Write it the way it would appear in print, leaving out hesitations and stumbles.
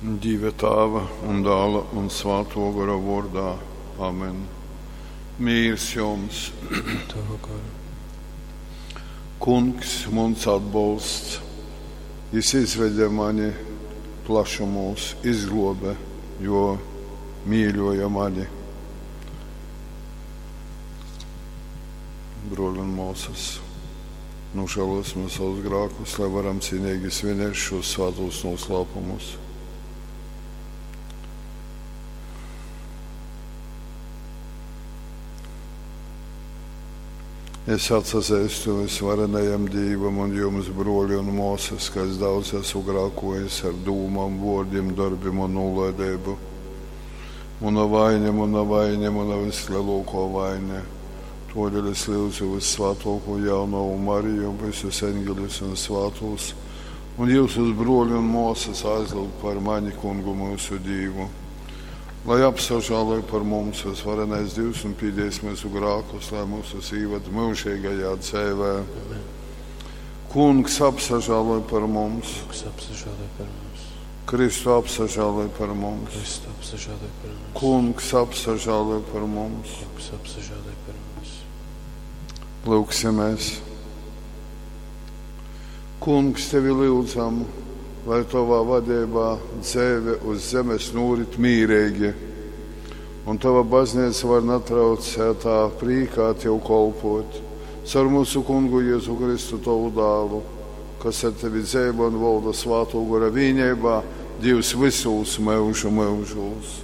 Dīva Tāva un Dāla un Svātō Gora vōrdā. Amen. Mīrs jums! Tovu goru. Kungs, muns atbolsts, jys izvede mani plašumūs, izglōbe, jo mīļōja mani. Brōli un mōsas, nožēlosim savus grākus, lai varam cienīgi svinēt šos svētos noslēpumus. Es atsazeistu visvarenajam Dīvam un jums, broļi un māsas, ka es daudz esmu grākojis ar dūmām, vārdiem, darbiem un nolaidību. Mana vaina, mana vaina, mana vislielākā vaina. Todēļ es lūdzu vissvētāko jaunavu Mariju, visus eņģeļus un svētos, un jūsus broļi un māsas aizlūgt par mani, kungu mūsu Dievu. Lai apsažāloj par mums visvarenais Dievs un pīdēs mūsu grākus, lai mūsu īvad mūžīgajā dzīvē. Amen. Kungs apsažāloj par mums, Kungs apsažāloj par mums. Kristu apsažāloj par mums, Kristu apsažāloj par mums. Kungs apsažāloj par mums. Kungs apsažāloj par mums. Lūksimies! Kungs, tevi lūdzam, lai tavā vadībā dzīve uz zemes norit mīrīgi, un tava baznīca var netraucētā prīkā tev kolpot. Caur mūsu kungu Jēzu Kristu tavu dālu, kas ar tevi dzīvo un valda svāto gora vienībā, Dievs visos mūžu mūžos.